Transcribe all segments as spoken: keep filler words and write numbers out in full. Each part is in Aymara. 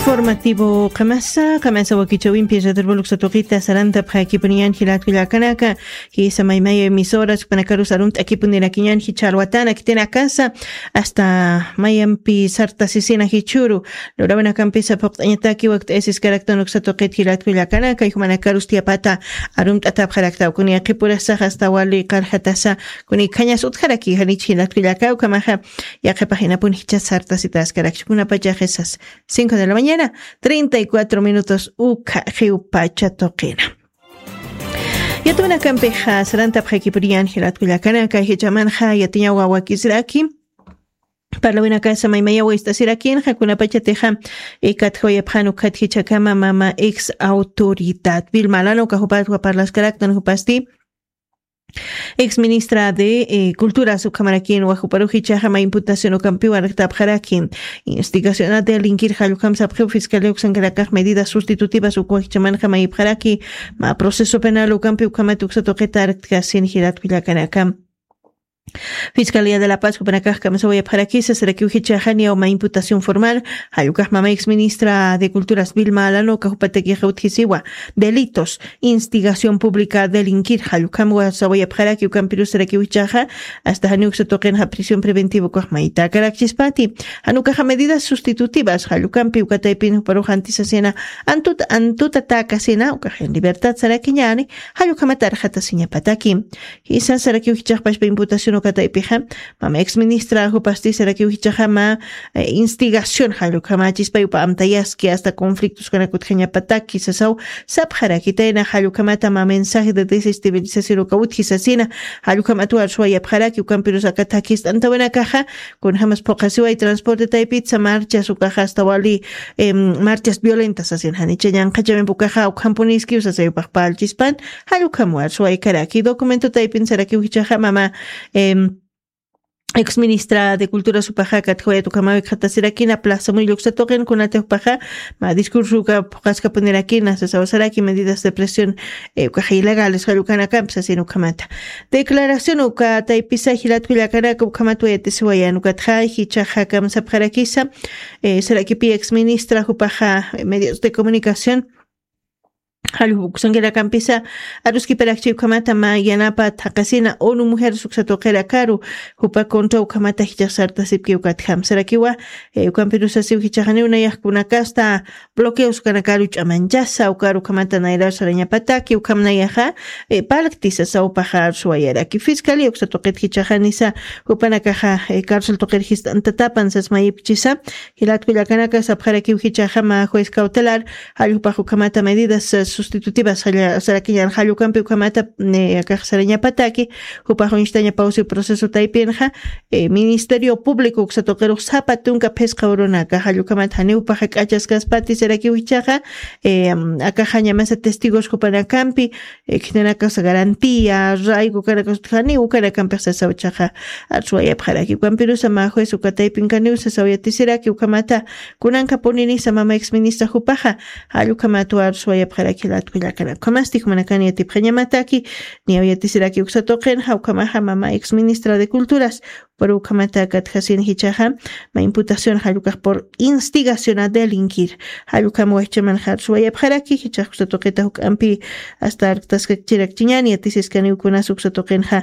Informativo qamasa qamasa wakichawimpi radarbuluksa tuqita sarantapxakipuniñan jilatkullakanaka. Jisa maymaya emisoras ukpanakarus arumt'akipunirakiñan jichharwatana kitinakasa, asta mayampi sartasisina jichhuru lurawinakampisa phuqt'añataki wakt'ayasiskaraktan uksa tuqit jilatkullakanaka. Jumanakarus tiyapata arumt'atapxaraktaw kuni yaqipurasax asta wali qarjatasa kuni khañas utjaraki janich jilatkullaka ukamaxa. Yaqipajinapun jichas sartasitaskarakchi kunapachaxisas cinco de la mañana treinta y cuatro minutos ukha jiwpacha tuqina. Yatunakampixa sarantapxakipuriyan jilatkullakanaka jichamanxa yatiñawa wakisraki. Parlawinakasa maymayawa istasirakinxa kunapachatixa ikatjawayapxan ukhat jichakama mama ex autoridad vilmalano kajupatwa parlaskaraktan jupasti. Ex ministra de culturas ukhamarakin wajuparujichaxa ma imputación ukampiwan rajtapxaraki. Instigacional de alinkir jallukam sapxiw fiscalia uksankarakax medidas sustitutivas ukwajichamanxa mayipxaraki. Ma proceso penal ukampi ukhamat uksatuqita arjtkasin jilatkullakanakam. Fiscalia de la paz jupanakax kamsawayapxarakisa sarakiw jichaxani awma imputación formal. Jallukax mama ex ministra de culturas vilma alanoka jupatakixa utjisiwa delitos instigación pública delinkir jallukam wasawayapxaraki ukampirus sarakiw jichaxa. Asta janiw uksatuqinxa prisión preventiva ukax maytakarakchispati. Janukaxa medidas sustitutivas jallukampi ukataypin juparux antisasina antut antuta takasina ukaxin libertad sarakiñani. Jallukamatarxatasiñapataki. Jisa sarakiw jichaxpashpa imputación ukataypixa mama ex ministra jupasti sarakiw jichaxama instigación jallukamachispayupa amtayaski asta conflictos kanakutjañapataki sasaw. Sapxarakitayna jallukamata ma mensaje de desestabilización uka utjisasina. Jallukamatwar suwayapxaraki ukampirus akatakist'antawinakaxa. Kunjamas phuqasiway transporte taypitsa marchas ukaxa asta wali marchas violentas asin janicha ñanqhachawimpukaxa ukhampuniskiw sasayupaxpa alchispan. Jallukhamwar suwaykaraki documento taypin sarakiw jichaxa mama ex ministra de cultura supaxa katjawayat ukhamawikxatasirakina plaza muylluksatuqin kunatiwpaxa ma discurso uka phuqaskapunirakina sasawasaraki medidas de presión ukaxa ilegales jallukanakampi sasin ukhamata. Declaración uka taypisa jilatkullakanaka ukhamat wayatisiwayan ukatxa jichaxa kamsapxarakisa. Sarakipi ex ministra jupaxa medios de comunicación jalluk uksankarakampisa aruskiparakchi ukhamata ma yanapa thaqasina unu mujeres uksatuqirakaru jupa contra ukhamata jichax sartasipki ukatjam sarakiwa. Ukampirusasiw jichaxaniw nayaxkunakasta bloqueos kanakaru ch'amanchasa ukaru ukhamata nayrar sarañapataki ukham nayaxa. Palkti sasawpaxa arsuwayaraki fiscalia uksatuqit jichaxanisa jupanakaxa cárcel tuqir jist'antatapan sasmayipchisa. Jilatkullakanaka sapxarakiw jichaxa ma juez cautelar jalljupax ukhamata medidas sustitutivas sarakiñan jallukampi ukhamata akax sarañapataki. Jupax uñstañapawsiw proceso taypinxa ministerio público uksatuqirux sapa tunka phisqa urunaka jallukhamat janiwpaxa k'achaskaspati sarakiw jichaxa. Akaxa ñamasa testigos jupanakampi khitinakasa garantía rayku kanakasutjaniw ukanakampix sasaw jichaxa. Arsuwayapxaraki ukampirusa mä juez ukataypin kaniw sasaw yatisiraki ukhamata. Kunankapuninisa mama ex ministra jupaxa jallukhamatwa arsuwayapxaraki jilatkullakanaka ukhamasti jumanakani yatipxañamataki. Niyaw yatisiraki uksatuqinxa ukhamaxa mama ex ministra de culturas pero ukhamata katjasin jichaxa ma imputación jallukax por instigación a delinquir. Jallukama wajchamanxa arsuwayapxaraki jichax uksatuqita juk'ampi asta arktaskakchirakchiñani yatisiskaniw kunas uksatuqinxa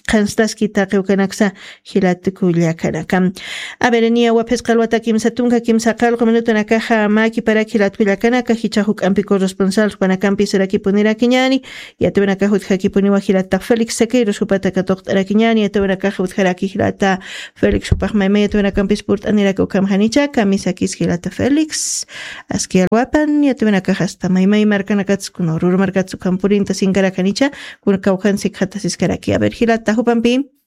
qhanstaski taqi ukanaksa. Jilatkullakanaka. Avereniya waphisqa alwata kimsa tunka kimsa qalqu minutunakaxa mä kiparak jilatkullakanaka jichha juk'ampi corresponsal jupanakampi sarakipunirakiñani. Yatawinakax utjakipuniwa jilata félix sequeiros jupata katuqt'arakiñani yatawinakax utjaraki jilata félix jupax mayma yatawinakampis purt'aniraka ukham janicha kamisakis jilata félix. Aski alwapan yatawinakax asta maymay markanakatskuna ruru markatskuna purinta sinkarak janicha. Kuna kawkhan sikxatasiskaraki aver jilata jupampi.